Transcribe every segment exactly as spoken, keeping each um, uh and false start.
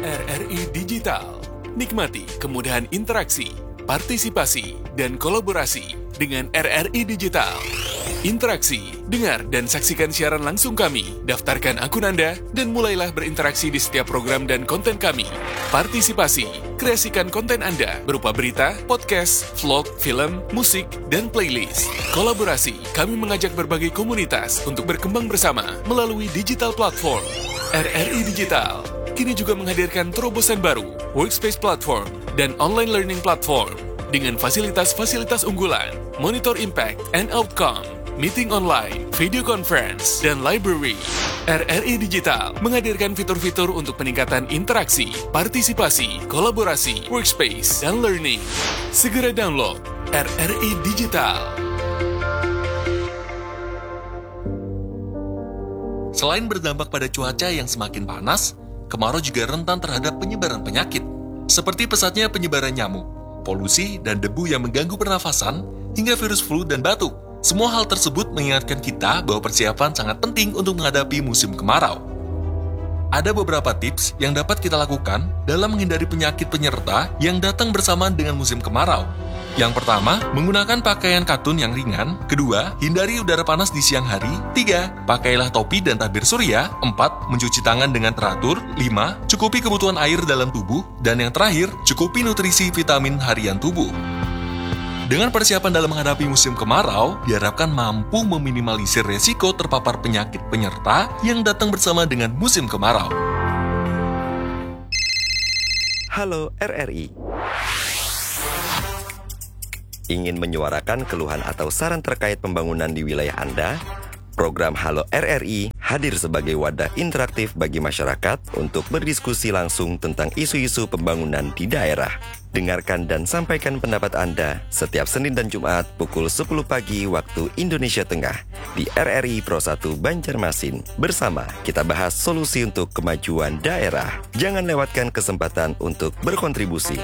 R R I Digital. Nikmati kemudahan interaksi, partisipasi, dan kolaborasi dengan R R I Digital. Interaksi, dengar, dan saksikan siaran langsung kami. Daftarkan akun Anda dan mulailah berinteraksi di setiap program dan konten kami. Partisipasi, kreasikan konten Anda berupa berita, podcast, vlog, film, musik, dan playlist. Kolaborasi, kami mengajak berbagai komunitas untuk berkembang bersama melalui digital platform. R R I Digital kini juga menghadirkan terobosan baru, workspace platform, dan online learning platform dengan fasilitas-fasilitas unggulan, monitor impact and outcome, meeting online, video conference, dan library. R R I Digital menghadirkan fitur-fitur untuk peningkatan interaksi, partisipasi, kolaborasi, workspace, dan learning. Segera download R R I Digital. Selain berdampak pada cuaca yang semakin panas, kemarau juga rentan terhadap penyebaran penyakit, seperti pesatnya penyebaran nyamuk, polusi, dan debu yang mengganggu pernafasan, hingga virus flu dan batuk. Semua hal tersebut mengingatkan kita bahwa persiapan sangat penting untuk menghadapi musim kemarau. Ada beberapa tips yang dapat kita lakukan dalam menghindari penyakit penyerta yang datang bersamaan dengan musim kemarau. Yang pertama, menggunakan pakaian katun yang ringan. Kedua, hindari udara panas di siang hari. Tiga, pakailah topi dan tabir surya. Empat, mencuci tangan dengan teratur. Lima, cukupi kebutuhan air dalam tubuh. Dan yang terakhir, cukupi nutrisi vitamin harian tubuh. Dengan persiapan dalam menghadapi musim kemarau, diharapkan mampu meminimalisir resiko terpapar penyakit penyerta yang datang bersama dengan musim kemarau. Halo R R I. Ingin menyuarakan keluhan atau saran terkait pembangunan di wilayah Anda? Program Halo R R I hadir sebagai wadah interaktif bagi masyarakat untuk berdiskusi langsung tentang isu-isu pembangunan di daerah. Dengarkan dan sampaikan pendapat Anda setiap Senin dan Jumat pukul sepuluh pagi waktu Indonesia Tengah di R R I Pro satu Banjarmasin. Bersama, kita bahas solusi untuk kemajuan daerah. Jangan lewatkan kesempatan untuk berkontribusi.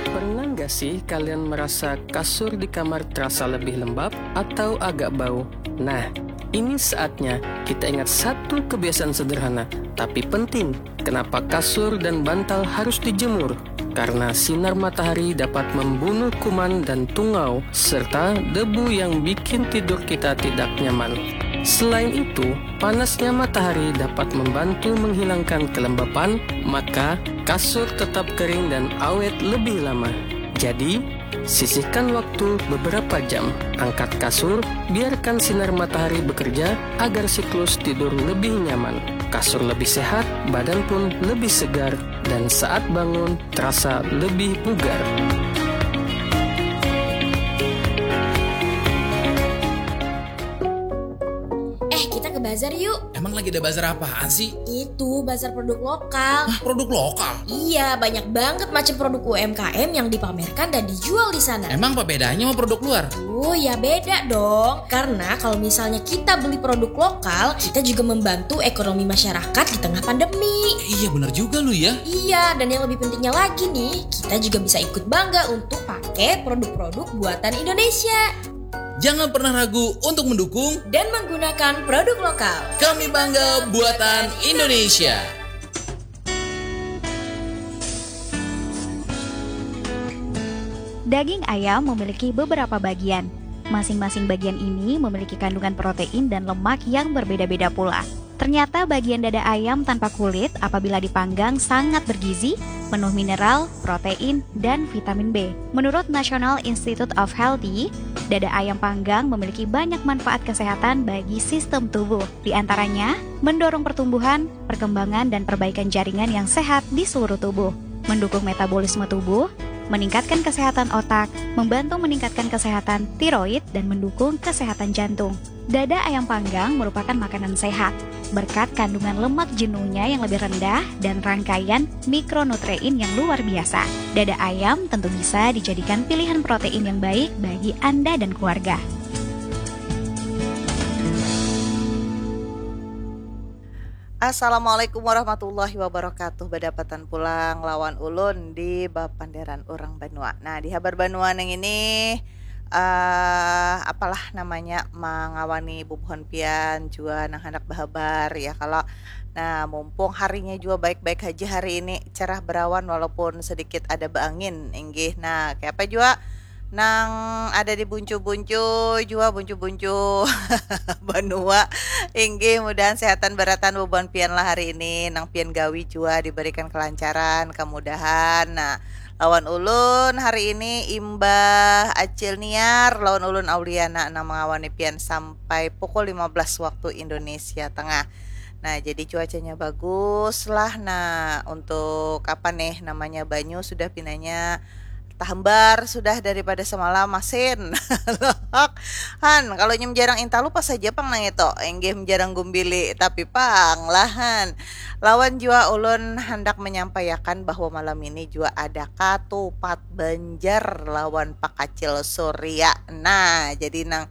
Pernah nggak sih kalian merasa kasur di kamar terasa lebih lembab atau agak bau? Nah, ini saatnya kita ingat satu kebiasaan sederhana, tapi penting. Kenapa kasur dan bantal harus dijemur? Karena sinar matahari dapat membunuh kuman dan tungau, serta debu yang bikin tidur kita tidak nyaman. Selain itu, panasnya matahari dapat membantu menghilangkan kelembapan, maka kasur tetap kering dan awet lebih lama. Jadi, sisihkan waktu beberapa jam, angkat kasur, biarkan sinar matahari bekerja agar siklus tidur lebih nyaman. Kasur lebih sehat, badan pun lebih segar, dan saat bangun terasa lebih bugar. Eh, kita ke bazar yuk. Emang lagi ada bazar apaan sih? Itu bazar produk lokal. Hah, produk lokal? Iya, banyak banget macam produk U M K M yang dipamerkan dan dijual di sana. Emang apa bedanya sama produk luar? Oh ya, beda dong. Karena kalau misalnya kita beli produk lokal, kita juga membantu ekonomi masyarakat di tengah pandemi. Eh, iya, bener juga lu ya. Iya, dan yang lebih pentingnya lagi nih, kita juga bisa ikut bangga untuk pakai produk-produk buatan Indonesia. Jangan pernah ragu untuk mendukung dan menggunakan produk lokal. Kami bangga buatan Indonesia. Daging ayam memiliki beberapa bagian. Masing-masing bagian ini memiliki kandungan protein dan lemak yang berbeda-beda pula. Ternyata bagian dada ayam tanpa kulit apabila dipanggang sangat bergizi, penuh mineral, protein, dan vitamin B. Menurut National Institute of Healthy, dada ayam panggang memiliki banyak manfaat kesehatan bagi sistem tubuh. Di antaranya, mendorong pertumbuhan, perkembangan, dan perbaikan jaringan yang sehat di seluruh tubuh, mendukung metabolisme tubuh, meningkatkan kesehatan otak, membantu meningkatkan kesehatan tiroid, dan mendukung kesehatan jantung. Dada ayam panggang merupakan makanan sehat berkat kandungan lemak jenuhnya yang lebih rendah dan rangkaian mikronutrien yang luar biasa. Dada ayam tentu bisa dijadikan pilihan protein yang baik bagi Anda dan keluarga. Assalamualaikum warahmatullahi wabarakatuh. Badapatan pulang lawan ulun di bapanderan urang banua. Nah, di habar banua nang ini uh, apalah namanya mangawani bubuhan pian jua nang handak bahabar ya kalau Nah, mumpung harinya jua baik-baik haja hari ini, cerah berawan walaupun sedikit ada baangin, inggih. Nah, kayapa jua nang ada di Buncu-Buncu jua, Buncu-Buncu banua, inggih, mudahan sehatan barataan bubuhan pian lah hari ini, nang pian gawi jua dibarikan kelancaran, kemudahan. Nah, lawan ulun hari ini imbah Acil Niar lawan ulun Auliana nang mangawani pian sampai pukul lima belas waktu Indonesia Tengah. Nah, jadi cuacanya bagus lah. Nah, untuk apa nih namanya, banyu sudah pinanya tahambar sudah daripada semalam masin. Han, kalau inya menjarang intalu pas saja pang nang itu, inggih menjarang gumbili, tapi pang lah, Han. Lawan jua ulun handak menyampaikan bahwa malam ini jua ada katupat Banjar lawan Pak Kacil Surya. Nah, jadi nang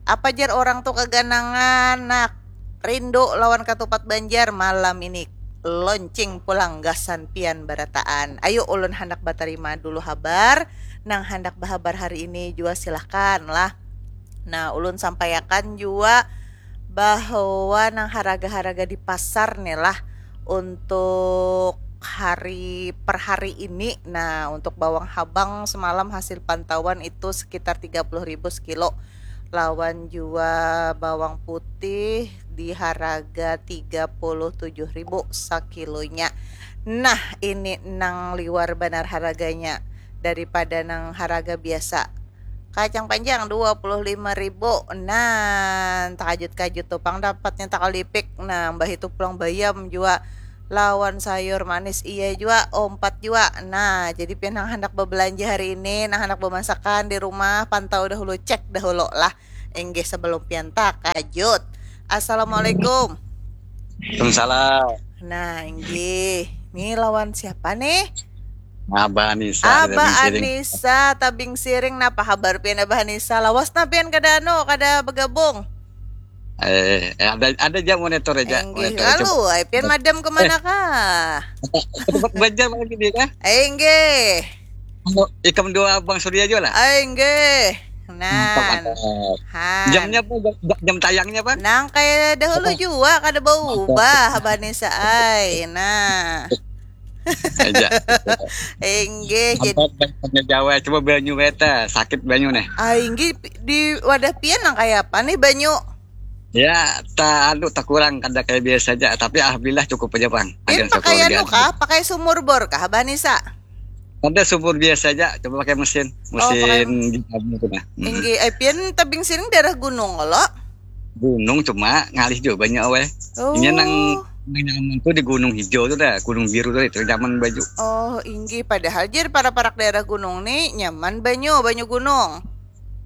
apa jar orang tu kaganangan, nak rindu lawan katupat Banjar, malam ini launching pulang gasan pian barataan. Ayu, ulun handak batarima dulu habar, nang handak bahabar hari ini jua silahkan lah. Nah, ulun sampaiakan jua bahwa nang haraga-haraga di pasar nih lah untuk hari per hari ini. Nah, untuk bawang habang semalam hasil pantauan itu sekitar tiga puluh ribu sekilo. Lawan jua bawang putih di haraga tiga puluh tujuh ribu sakilonya. Nah, ini nang liwar banar haraganya daripada nang haraga biasa. Kacang panjang dua puluh lima ribu. Nah, takajut-kajut tu pang dapatnya takalipik. Nah, mbah itu pulang bayam jua. Lawan sayur manis iya jua, umpat jua. Nah, jadi pian nang handak babelanja hari ini, nang handak bamasakan di rumah, pantau dahulu, cek dahulu lah. Inggih, sebelum pian takajut. Assalamualaikum. Waalaikumsalam. Nah, inggih. Ni lawan siapa nih? Abah Anissa. Abah Anissa, Tabing Siring. Napa habar pian, Abah Anissa? Lawas nah pian kada anu, kada bergabung? Eh, eh, ada ada aja monitor aja. Enggih, Monitor aja. Lalu ai pian madam ke mana kah? Tempat belajar lagi dia kah? Enggih. Ikam dua Bang Surya juga lah. Enggih. Nah, Han. Jamnya apa? Jam, jam tayangnya apa? Nang kayak dahulu juga, kada berubah, Abah Anissa ai. Nah. Aja. Enggih, jadi Sampai Jawa, coba banyu beta, sakit banyu nih. Ah, inggih, di wadah pian nang kayak apa nih banyu? Ya, tak anu, tak kurang, kada kayak biasa aja, tapi alhamdulillah cukup aja, Bang. Pian pakai anu kah? Pakai sumur bor kah, Abah Anissa? Ada sumur biasa aja, coba pakai mesin, Oh, pakai mesin gimana itu nah. Hmm. Inggih, eh, pian Tabing Siring daerah gunung lo? Gunung, cuma ngalih juga banyak weh. Oh. Ini nang nang nyaman tuh di Gunung Hijau tuh dah, Gunung Biru tuh itu nyaman banyu. Oh, inggih, padahal jar parak-parak daerah gunung nih nyaman banyu, banyu gunung.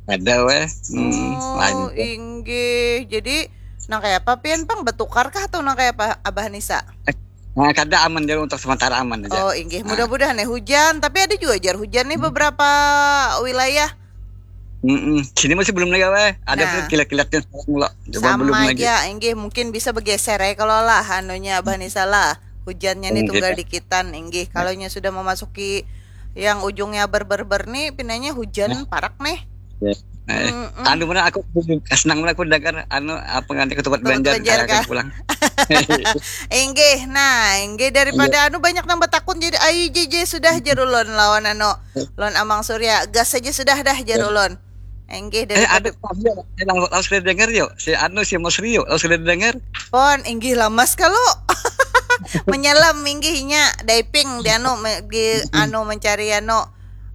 Ada weh. Hmm, Oh, lanjut. Inggih. Jadi nang kayak apa pian pang, bertukar kah atau nang kayak apa, Abah Anissa? Nah, kada, aman dulu, untuk sementara aman aja. Oh, inggih. Nah. Mudah-mudahan nih hujan, tapi ada juga jar hujan nih beberapa wilayah. Mm-mm. Sini masih belum lagi weh. Ada Nah. Pun kilat-kilatnya sekarang lo. Coba belum Sama lagi. Aja, inggih, mungkin bisa bergeser ya kalau lah anunya, Abah Anissa lah. Hujannya nih Inggih. Tunggal dikitan, inggih. Kalau nya sudah memasuki yang ujungnya ber-ber-ber nih, pinanya hujan Nah. Parak nih. Ya. Eh, Mm-mm. Anu mana aku senang mana aku dengar anu apa nganti ketupat Ketupat Banjar, Banjar akan kah? Pulang. Inggih, nah, inggih, daripada anu banyak nang batakun jadi ai J J sudah jar ulun lawan anu, lawan Amang Surya, gas saja sudah dah jar ulun. Inggih, Eh, ada daripada Fabio, eh, lalu lalu sudah dengar yuk, si anu, si Mas Rio, lalu sudah dengar. Pon, inggih, lamas kalau menyelam, inggih, inya diving di anu, me- di anu mencari anu,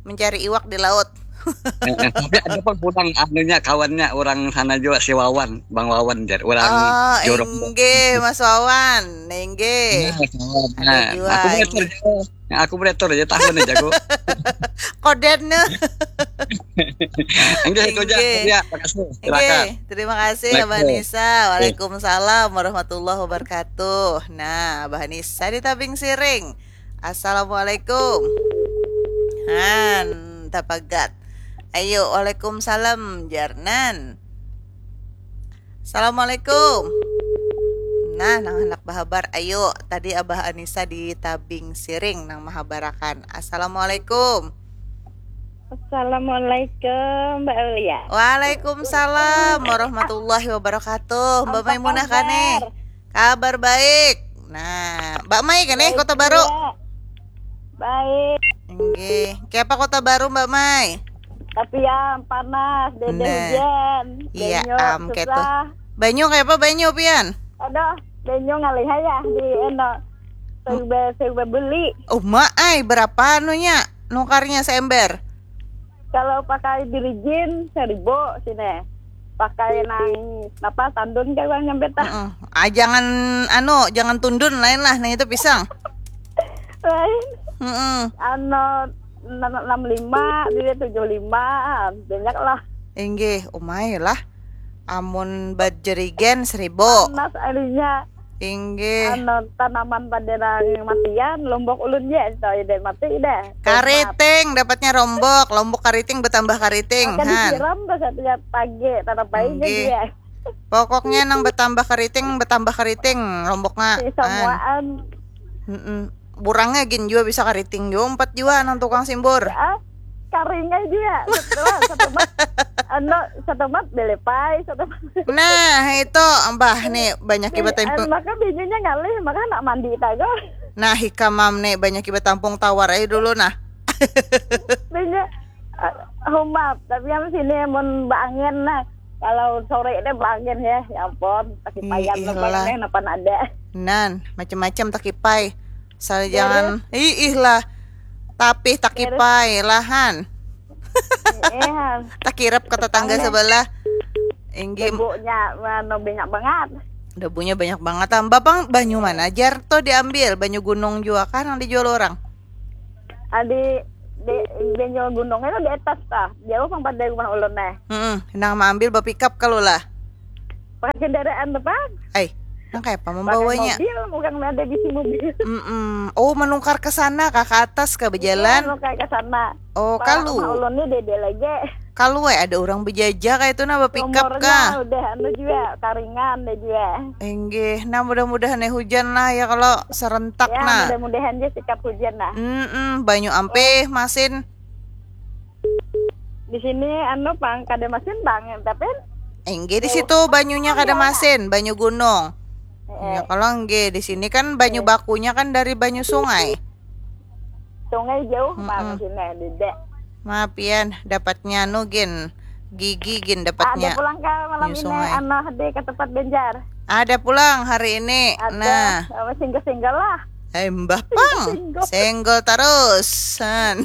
mencari iwak di laut. Eh, eh, tapi ada pun pulang anunya, kawannya orang sana juga, si Wawan, Bang Wawan, jar orang Oh, jorok. Inggih, Mas Wawan, inggih. Nah, kawan. Ada Nah, juga, aku monitor inggih. Jawa. Nah, aku monitor aja tahun aja aku. Koden nih. Enggak, itu aja. Inggih. Ya, makasih. Silakan. Inggih, terima kasih, Abah Assalamualaikum. Nisa. Waalaikumsalam warahmatullahi wabarakatuh. Nah, Abah Nisa di Tabing Siring. Assalamualaikum. Han, tapagat. Ayo, waalaikumsalam, jarnan. Assalamualaikum. Nah, nang handak bahabar, ayo. Tadi Abah Anissa di Tabing Siring nang mahabarakan. Assalamualaikum. Assalamualaikum, Mbak Aulia. Waalaikumsalam warahmatullahi wabarakatuh. Mbak Apa Maimunah kabar? Kane. Kabar baik. Mbak Mai kan eh, Kota Baru? Iya. Baik. Nggih. Kiapa Kota Baru, Mbak Mai? Tapi ya panas, dede Nah. hujan. Iya, Banyu am, ketu. susah. Banyu kayak apa banyu, pian? Aduh, banyu ngalih ya di eno. Saya saya beli. Uma ai, berapa anunya? Nukarnya seember? Kalau pakai birijin seribu sini. Pakai nang apa tandun kayak orang nyampe tah. Heeh. Ah, jangan anu, jangan tundun lain lah. Nah, itu pisang. Lain. Heeh. Anu enam lima, dia tujuh lima, banyak lah. Inggih, umai lah. Amun bajerigen seribu. Panas alinya. Inggih. Anu tanaman pada nang matian, lombok ulun je, tahu ide mati ide. Kariting dapatnya rombok, lombok kariting bertambah kariting. Akan han. Disiram tuh setiap pagi, tetap baik Inggih. Dia. Pokoknya nang bertambah kariting, bertambah kariting, lomboknya. Si semuaan. Mm -mm. Burangnya gin juga bisa kariting juga, empat juga nang tukang simbur. Ah, karingnya juga. Setelah, setelah, anu, setelah belepai, setelah. Nah, itu mbah nih banyak ibat tampung. Maka bijinya ngalih, maka nak mandi tago. Nah, hikamam nih banyak ibat tampung tawar aja dulu nah. Bijinya uh, humap, tapi yang sini mun baangin nah. Kalau sore deh baangin ya, ya ampun, takipayan lah. Nih, napa ada. Nan, macam-macam takipai. Asal jangan, ih, ih lah. Tapi takipai lahan. Iya. Takirap ke tetangga sebelah. Inggih. Debunya anu, banyak banget. Debunya banyak banget. Tambah pang banyu mana jar tuh diambil? Banyu gunung juga kan yang dijual orang? Adi di banyu gunung itu di atas tah. Jauh pang pada rumah ulun neh. Heeh, nang maambil bapikap kalau lah. Pakai kendaraan tuh, Pak. Ai, nang kaya apa membawanya? Pakai mobil, bukan ada bisi mobil. Mm-mm. Oh, menukar ke sana kah, ke atas kah berjalan? Iya, menukar ke sana. Oh, kalu. Rumah ulun ni dede lagi. Kalu eh ada orang berjajah kayak itu nah bapikap kah? Udah anu juga, karingan deh juga. Enggih, nah mudah-mudahan eh hujan lah ya kalau serentak ya, nah. Mudah-mudahan aja sikap hujan lah. Mm-mm, banyu ampih, oh. Masin. Di sini anu pang kada masin bang, tapi enggih di situ banyunya kada masin, banyu gunung. Ya kalau enggih di sini kan banyu bakunya kan dari banyu sungai. Sungai jauh bang sini dede. Maaf pian dapatnya anu gin gigi gin dapatnya. Ada pulang ke malam ini anu di ke tempat Banjar. Ada pulang hari ini. Ada. Nah. Single-single lah. Hai mbah pang, senggol tarusan.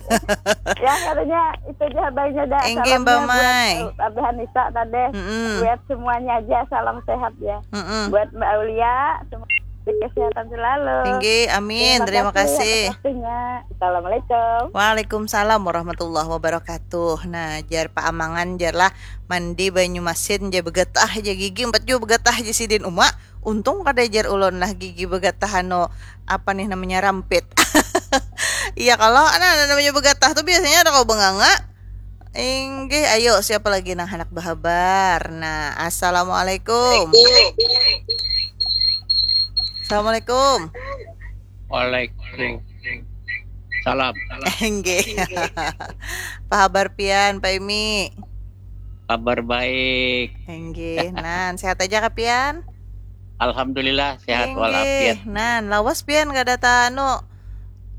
Ya katanya itu aja abangnya dah. Inggih mbak Mai. Abah Anissa tadi. Mm -mm. Buat semuanya aja salam sehat ya. Mm -mm. Buat Mbak Aulia, semoga kesehatan selalu. Inggih, amin. Terima, Terima kasih. kasih. Assalamualaikum. Waalaikumsalam warahmatullahi wabarakatuh. Nah, jar paamangan jar lah mandi banyu masin jar begetah aja gigi empat jua begetah aja sidin uma. Untung kada jar ulun lah gigi begatah anu apa nih namanya rampit. Iya kalau nah namanya begatah tuh biasanya ada kau benganga. Inggih, ayo siapa lagi nang handak bahabar. Nah, assalamualaikum. Assalamualaikum. Waalaikumsalam. Inggih. Apa habar pian, Pak Imi? Kabar baik. Inggih, nan sehat aja kah pian? Alhamdulillah sehat walafiat. Inggih, nan lawas pian kada ta anu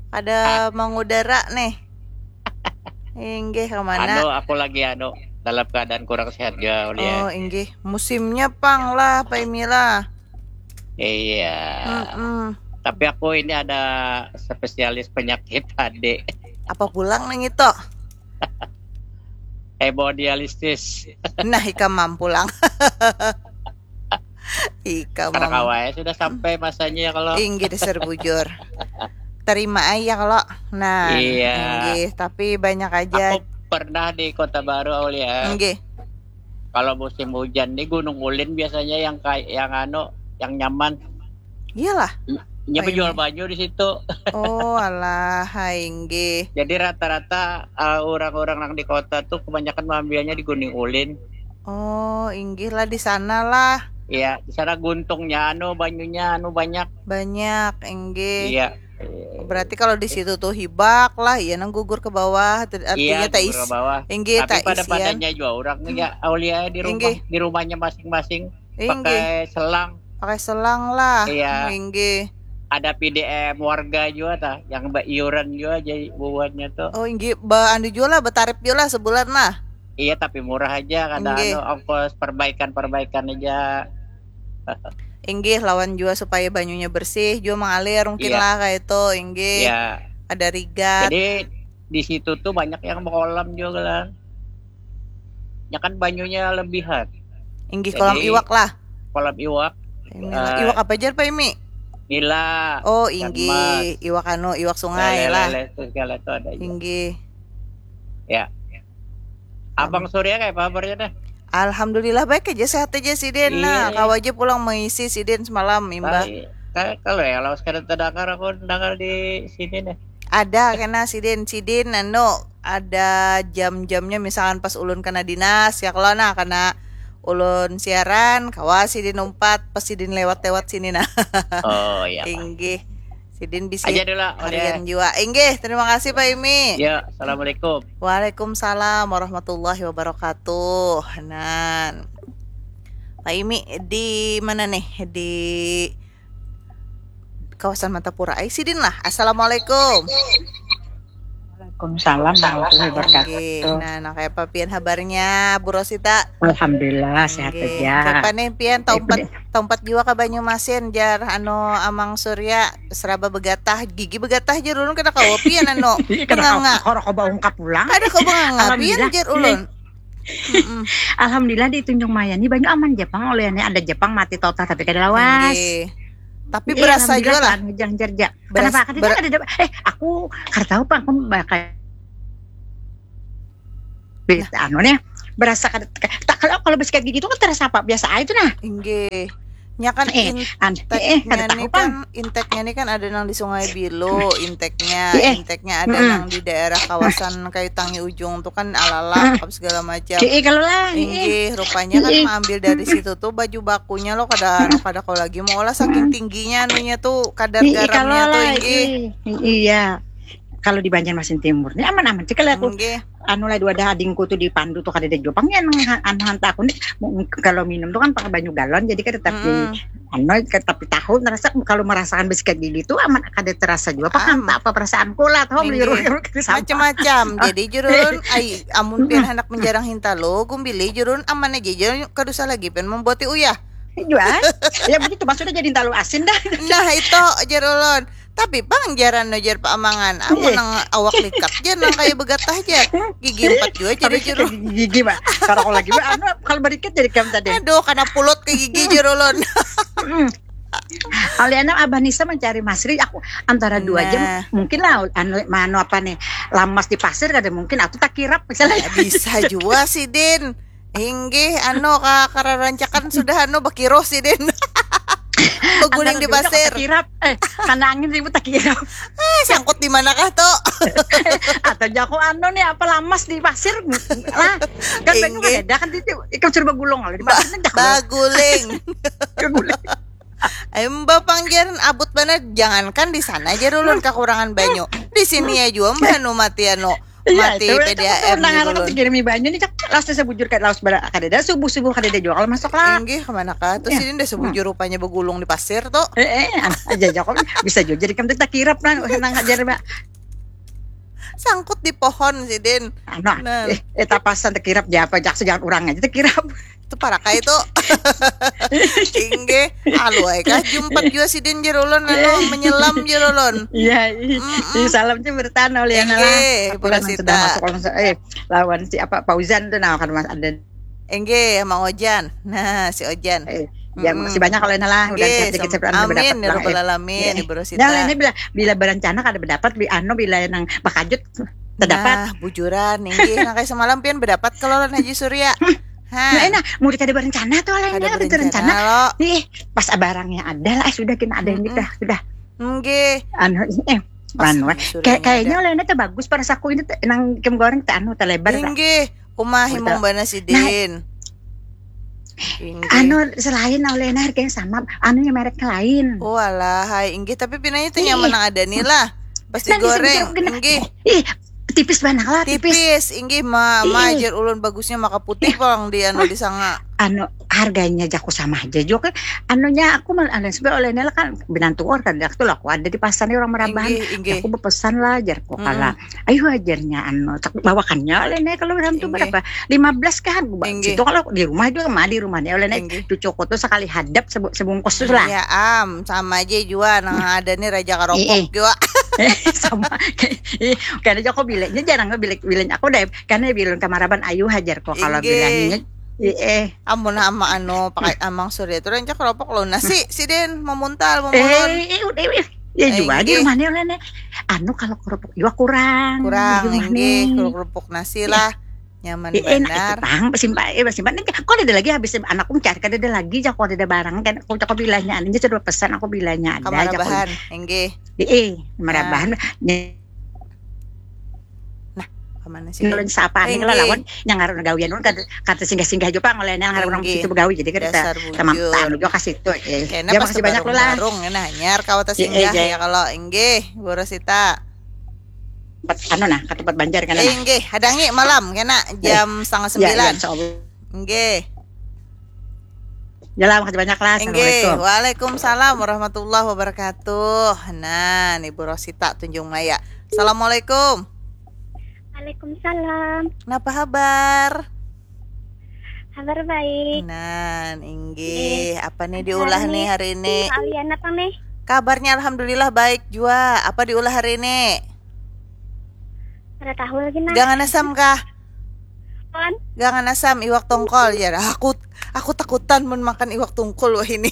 kada ah. Mengudara nih. Inggih kemana? Anu aku lagi anu dalam keadaan kurang sehat juga ya. Oh inggih, musimnya pang lah Pak Imi lah. Iya. Mm -mm. Tapi aku ini ada spesialis penyakit tadi. Apa pulang nang itu? Hemodialisis. Nah, ikam mampulang. Ikam. Karena kawai sudah sampai masanya ya kalau. Inggih dasar bujur. Terima aja kalau. Nah, iya. Inggih, tapi banyak aja. Aku pernah di Kota Baru Aulia. Inggih. Kalau musim hujan nih Gunung Ulin biasanya yang kayak yang anu, yang nyaman. Iyalah. Nya penjual baju di situ. Oh, alah, inggih. Jadi rata-rata uh, orang-orang yang di kota tuh kebanyakan mengambilnya di Gunung Ulin. Oh, inggih lah di sana lah. Iya, di sana guntungnya anu banyunya anu banyak. Banyak, inggih. Iya. Berarti kalau di situ tuh hibak lah, iya nang gugur ke bawah, artinya iya, tak is. Ke bawah. Inggih, tapi tak pada isian. Padanya juga orang ya, aulia di rumah, inggih. Di rumahnya masing-masing. Inggih. Pakai selang. Pakai selang lah. Iya. Inggih. ada P D M warga jua tah, yang baiuran jua jadi bubuhannya tuh. Oh, inggih, ba anu jua lah, batarip jua lah sebulan lah. Iya, tapi murah aja, kada Inggih. Anu, ongkos perbaikan-perbaikan aja. Inggih, lawan jua supaya banyunya bersih, jua mengalir mungkin Iya. lah kayak itu, inggih. Ya, Ada rigat. Jadi di situ tuh banyak yang berkolam juga lah. Ya kan banyunya lebihan. Inggih, Jadi, kolam iwak lah. Kolam iwak, Ini eh, iwak apa aja, Pak Imi? nila, Oh, ikan inggih, mas, iwak anu, iwak sungai lah. Lele-lele itu segala itu ada aja. Inggih. Ya. Abang Surya kayak apa kabarnya dah? Alhamdulillah baik aja, sehat aja sidin. Nah, Iya. Kawa aja pulang mengisi sidin semalam, imbah. Tapi, kayak kalau ya, kalau sekarang terdengar, aku dengar di sini nih. Ada kena sidin, sidin anu, ada jam-jamnya, misalkan pas ulun kena dinas ya, kalau nah kena ulun siaran, kawa sidin umpat pas sidin lewat-lewat sini nah. Oh ya. Inggih. Sidin bisi Aja dulu lah, harian oleh. Jua. Inggih, terima kasih Pak Imi. Ya, assalamualaikum. Waalaikumsalam warahmatullahi wabarakatuh. Nan. Pak Imi di mana nih? Di kawasan Martapura. Ai sidin lah. Assalamualaikum. Waalaikumsalam warahmatullahi Inggih. wabarakatuh. Nah, nah kayak apa pian habarnya, Bu Rosita? Alhamdulillah sehat Inggih. aja. Kapan nih pian taumpat Baik, taumpat jua ke Banyumasin, jar anu Amang Surya, seraba begatah, gigi begatah, jar ulun, kada kawa pian anu Ih, kada benganga. Kau kau baungkap pulang. Kada kawa benganga pian, Alhamdulillah. Jar ulun. Mm-mm. Alhamdulillah di Tunjung Maya ni banyak aman Jepang, oleh ini ada Jepang mati total tapi kada lawas. Inggih. Tapi Iya, berasa alhamdulillah, jua lah. anu, jangan jarja. Beras- Kenapa? Kada ber- ada, ada. Eh, aku kada tahu, Pak. Aku bakal berita anu nih. Berasa kada tak, kalau kalau bersikat gigi itu kan terasa apa? Biasa aja tuh nah. Inggih. Nya kan Eh, in- an- eh, kada Inteknya tahu, nih Pang. Kan, inteknya nih kan ada nang di Sungai Bilu, inteknya, Iya. Inteknya ada Mm-mm. Nang di daerah kawasan Kayu Tangi Ujung tuh kan alalak apa segala macam. Iya, kalau lah. Iya. Inggih, rupanya kan Iya. Mengambil dari situ tuh baju bakunya lo kada kada kau lagi mau lah saking tingginya anunya tuh kadar Iya, kalau garamnya tuh lah. inggih. Iya. Iya. Kalau di Banjarmasin Timur ini aman-aman sih kalau aku Inggih. Anu lah dua ada adingku tuh di Pandu tuh kada ada Jepang ya nang anu hantar aku nih kalau minum tuh kan pakai banyu galon jadi kada tapi Mm-mm. anu tapi tahu ngerasa kalau merasakan besikat gigi tuh aman kada terasa juga apa Am. Apa perasaanku lah tahu Inggih. beli rumah kita sampah. Macam-macam. Jadi jurun ai amun pian hendak menjarang hinta lo gumbili jurun aman aja jurun kada usah lagi pian membuati uyah. Iya. Ya begitu maksudnya jadi talu asin dah. Nah itu jar ulun. Tapi pang jaran no jar paamangan. Amun Iya. Nang awak likat jar nang kaya begatah jar. Gigi empat jua jar Tapi jar ke gigi, gigi, Pak. Kalau aku lagi, Pak, anu, kalau berikit jadi kam tadi. Aduh, kana pulut ke gigi jar ulun. Mm. Aliana Abah Nisa mencari Masri aku antara dua jam Nah. Mungkin lah anu, anu apa nih lamas di pasir kada mungkin atau tak kirap misalnya. Ya, bisa jua sih Din. Inggih, anu ka kararancakan sudah anu bakiro sih Din. Beguling di Antara dua jam pasir. tak kirap. Eh, karena angin ribut tak kirap. Eh, sangkut di manakah tuh? Atau jago anu nih apa lamas di pasir lah. Kan banyak Inggih. Ada kan itu ikam suruh bagulung kalau di pasir kan jago. Baguling. Bagulung. Ayo mbak panggilan abut banar jangankan di sana aja ulun kekurangan banyu. Di sini ya jua mbak anu mati anu Iya, mati itu, P D A M itu nang nih anak ulun. Kami banyu nih cak lawas saya bujur kayak lawas bara kada ada subuh subuh kada ada jual masuk lah. Inggih kemana kah? Terus Iya. Ini udah sebujur rupanya begulung di pasir tuh. Eh, eh, an- aja aja kok bisa juga jadi kamu tak kirap nang nang ajar mbak. Sangkut di pohon sidin. Anu, Nah. eh, eh tapasan tak kirap dia apa jaksa jangan orang aja tak kirap. Itu parakai itu. Inggih. Alu ai kah jumpat jua sidin jar ulun anu menyelam jar ulun. Iya, iya. Mm-mm. Iya, salam sih bertahan oleh Inggih, anak. Bu Rosita. Masuk langsung eh lawan si apa Fauzan tuh nah kan Mas ada. Inggih, Mang Ojan. Nah, si Ojan. Eh, ya Mm-mm. Makasih banyak oleh Nala udah Inggih, sehat dikit sam- saya pernah amin berdapat ya lah, rabbal eh. alamin, Iya. Ibu Rosita. Nah, ini bila bila berencana kada berdapat bi anu bila yang bakajut terdapat. Nah, bujuran inggih nang kayak semalam pian berdapat kalau lawan Haji Surya. Nah, Hah. enak, mau kada berencana tuh oleh Kada ini berencana berencana. lo. Nih, pas barangnya ada lah, eh, sudah kena ada ini Mm-mm. dah, sudah. Inggih. Anu eh Pas anu Haji eh. Surya Kayak ini kayaknya ada. Oleh ini tuh bagus pada saku ini tuh, nang kem goreng teh anu telebar tak. Inggih. Uma himung Udah. bana sidin. Inggih. Anu selain Oleh ini harganya sama, anunya mereknya lain. Oh alah, hai inggih tapi pinanya itu Ih. Nyaman nang ada nih lah. Pas Nah, bisa digoreng, jeruk gini. Inggih. Ih, tipis banget lah, tipis. Tipis, inggih ma, ma Ih. Jar ulun bagusnya maka putih pang di anu di sanga. Anu, harganya jaku sama aja juga kan. Anunya aku mal anu sebenarnya oleh Nela kan binantu orang kan, aku lah aku ada di pasar nih orang merabahan. Inggih, inggih. Aku berpesan lah jarku Mm-mm. Kala, ayo ajarnya anu tak bawakannya oleh Nela kalau orang tuh Inggih. Berapa, lima belas kan. Aku ba- Inggih. Situ kalau di rumah juga mah di rumahnya oleh Nela Inggih. Cucuku tuh sekali hadap sebu- sebungkus tuh lah. Ya am, sama aja jua nang ada nih raja karopok Iya. Jua. Sama. Ih, karena aku bilangnya jarang bilek bilek aku deh. Karena bilang kamaraban ayu hajar kok kalau Inggih. Bilangnya. Iya. Amun ama anu pakai amang surya itu rancak karopok lo nasi si den memuntal Eh, memulon. eh, udah, eh, ya juga di Inggih. Rumahnya oleh Nela. Anu kalau kerupuk juga kurang. Kurang Di rumahnya. Inggih, kerupuk nasi lah. Nyaman Eh, enak itu banar. Pang, simpan, eh, simpan. Kok ada lagi habis anakku mencari kan ada lagi, aku ada barang kan. Aku cakap bilangnya, anaknya sudah pesan, aku bilangnya ada. Aja aku Kamarabahan, inggih. Eh, merabahan. Kemana sih? Nulun sapa nih kalau Inggih. Lawan yang ngaruh gawian ulun kata, kata singgah-singgah juga ngoleh yang ngaruh orang Inggih. Situ begawi, jadi kita Dasar sama bujur. Anu juga kasih itu. Eh. Kena Ya, pas makasih banyak lo lah. Barung-barung, kena hanyar kawata Iya, singgah iya. Ya kalau inggih, Bu Rosita. Tempat anu nah, ke tempat banjar kan. Eh, inggih, hadangi malam kena jam setengah Ya, sembilan. Ya, insya Allah. Inggih. Ya lah, makasih banyak lah. Inggih, Assalamualaikum. Waalaikumsalam warahmatullahi wabarakatuh. Nah, nih Bu Rosita Tunjung Maya. Assalamualaikum. Waalaikumsalam. Kenapa habar? Kabar baik. Nah, inggih. Apa nih Kabar diulah nih nih. Hari ini? Kalian apa nih? Kabarnya alhamdulillah baik jua. Apa diulah hari ini? Kada tahu lagi nah. Gangan asam kah? Kon, Gangan asam iwak tongkol ya. Aku aku takutan mun makan iwak tungkul wah ini.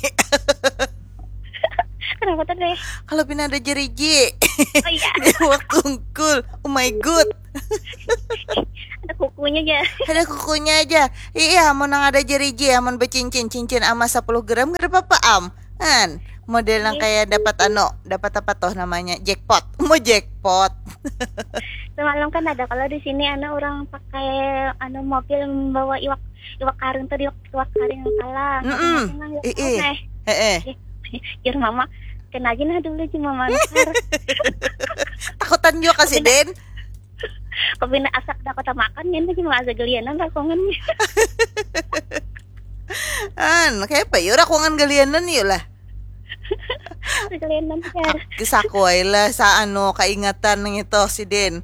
Kenapa tuh deh? Kalau pina ada jeriji. Oh iya, Iwak tungkul. Oh my god. Ada kukunya aja. Ada kukunya aja. Iya, mun nang ada jeriji, mun becincin, cincin emas sepuluh gram kada apa-apa am. Kan model nang Iya. Kayak dapat anu, dapat apa toh namanya? Jackpot. Mau jackpot. Semalam kan ada kalau di sini anu orang pakai anu mobil membawa iwak iwak karing tuh iwak iwak karing salah. Mm-mm. Ih, ih. Heeh. Jir mama, kena aja nah dulu jir mama nukar. Takutan juga kasih Den. Kau bina asak dah kota makan ya, ini cuma asa gelianan rakongan. An, kayak apa yuk rakongan galianan yuk lah. Gelianan jar. Kisah kuai lah sa anu kaingatan nang itu si Den.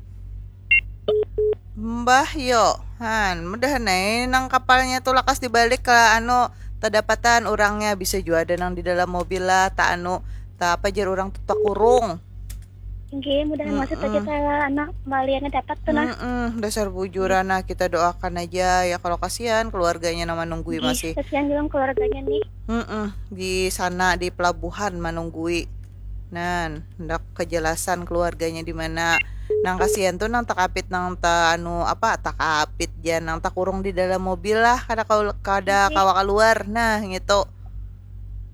Mbah yo, han, mudahan ai nang kapalnya tu lakas dibalik ka anu tadapatan urangnya, bisa jua ada nang di dalam mobil lah, ta anu, ta apa jar urang tu takurung. Inggih, mudahan masih Mm-mm. kita anak kembaliannya dapat tuh nah. Mm-mm, dasar bujur nah, kita doakan aja ya kalau kasihan keluarganya nang manunggui Ih, masih. Kasihan juga keluarganya nih. Mm-mm, di sana di pelabuhan manunggui. Nan, hendak kejelasan keluarganya di mana. Nang kasihan tuh nang takapit nang ta anu apa takapit ja nang takurung di dalam mobil lah kada kau kada Iya. Kawa keluar nah gitu.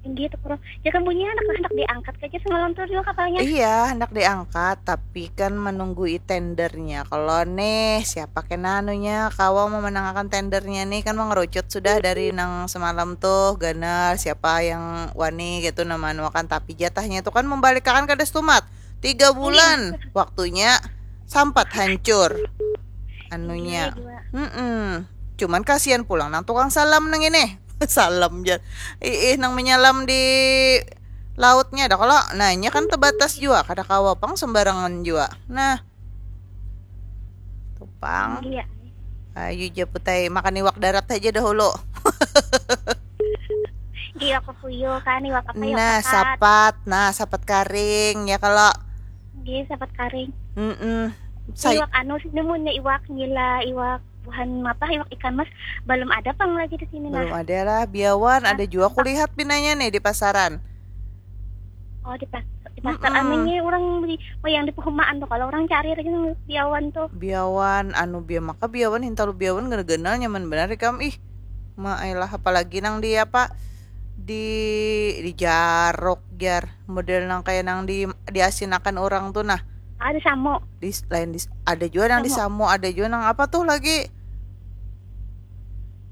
Inggih tuh kurang. Ya kan bunyinya anak hendak diangkat aja semalam tuh juga kapalnya. Iya, hendak diangkat tapi kan menunggu tendernya. Kalau nih siapa kena anunya kawa memenangakan tendernya nih kan mengerucut sudah dari nang semalam tuh ganal siapa yang wani gitu nama anuakan tapi jatahnya itu kan membalikkan kada stumat tiga bulan waktunya sampat hancur anunya. Iya, juga. Mm-mm. Cuman kasihan pulang nang tukang salam nang ini. Salam ja. Ih, nang menyalam di lautnya dah kalau nanya kan terbatas jua kada kawa pang sembarangan jua. Nah. Tupang. Iya. Ayu ja putai makan iwak darat aja dahulu. Iwak kukuyu kan, iwak apa iwak Nah, pakat. Sapat. Nah, sapat karing ya kalau. Inggih, sapat karing. Mm-mm. Say- Iwak anu sini munnya iwak nila, iwak buhan apa iwak ikan mas belum ada pang lagi di sini nah. Belum ada lah biawan, ada juga kulihat pinanya nih di pasaran. Oh di pas di pasar Mm-mm. anunya orang beli oh yang di perumahan tuh kalau orang cari lagi nang biawan tuh. Biawan anu bia maka biawan hintalu biawan ganal-ganal nyaman benar ikam ih. Ma ailah apalagi nang di apa di di jarok jar model nang kayak nang di diasinakan orang tuh nah. Ada samo. Di lain di ada juga nang di samo, ada juga nang apa tuh lagi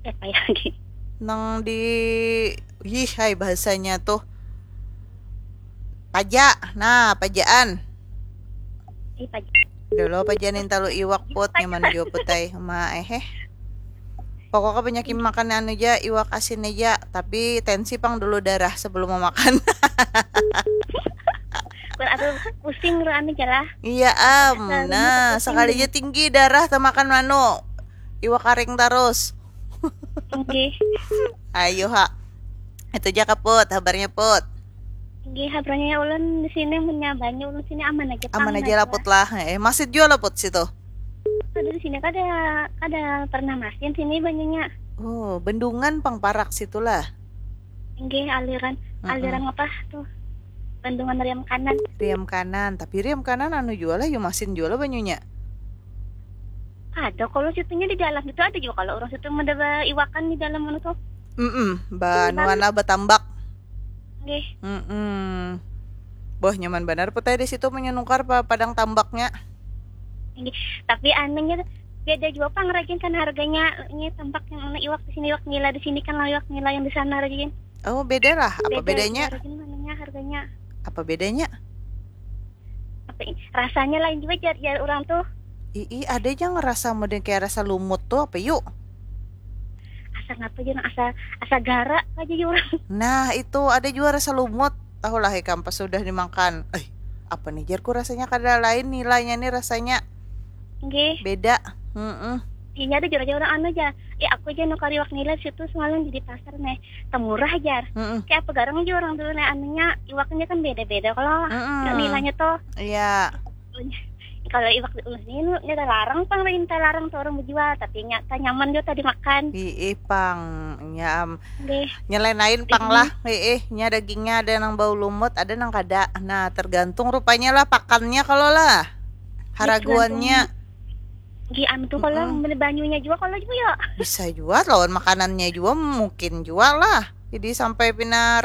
Apa ya lagi? Nang di ih hai bahasanya tuh paja. Nah, pajaan. Ih pajak. Dulu pajaan intalu iwak put nyaman jua putai. Ma eh eh. Pokoknya banyak makan anu ja, iwak asin aja, tapi tensi pang dulu darah sebelum memakan. Kun atau pusing ro anu ja lah. Iya am, nah sekali aja tinggi darah temakan manu, iwak karing terus. Oke. Ayo ha, itu aja kaput habarnya put. Oke, habarnya ulun di sini punya banyu, ulun sini aman aja. Aman aja lah put lah. Eh, masih jual lah put situ. Ada di sini kada kada pernah masin sini banyunya. Oh, bendungan pang parak situlah. Nggih, aliran aliran apa tuh? Bendungan Riam Kanan. Riam Kanan, tapi Riam Kanan anu jual lah, yumasin jual lah banyunya. Ada kalau situnya di dalam itu ada juga kalau orang situ ada iwakan di dalam mana tuh. Mm-mm, banuan lah batambak. Nggih. Mm-mm. Boh, nyaman banar putai di situ menyenukar pa padang tambaknya. Nggih. Tapi anunya beda juga pang rajin kan harganya. Ini tambak yang mana iwak di sini iwak nila di sini kan iwak nila yang di sana rajin. Oh, beda lah. Apa bedanya? Harganya, harganya. Apa bedanya? Apa ini? Rasanya lain juga jar jar orang tuh. Ii, ada aja ngerasa model kayak rasa lumut tuh apa yuk? Asa ngapa aja asa asa gara aja orang. Nah, itu ada juga rasa lumut. Tahulah ikam pas sudah dimakan. Eh, apa nih jarku rasanya kada lain nilainya nih rasanya. Nggih. Beda. Heeh. Iya ada jurah orang anu aja. Eh aku aja nukar iwak nila situ semalam di pasar nih. Temurah jar. Heeh. Kayak apa garang aja orang dulu nih anunya iwaknya kan beda-beda kalau Mm-mm. Nilainya tuh. Iya. Kalau iwak di ulun ini ini ada larang pang lain ada larang tuh orang menjual tapi nyata nyaman juga tadi makan. Ih, pang nyam. Nggih. Nyelain lain pang lah. Ih, nya dagingnya ada nang bau lumut, ada nang kada. Nah, tergantung rupanya lah pakannya kalau lah. Haraguannya. Nggih anu tuh kalau beli banyunya juga kalau juga ya. Bisa juga lawan makanannya juga mungkin juga lah. Jadi sampai pina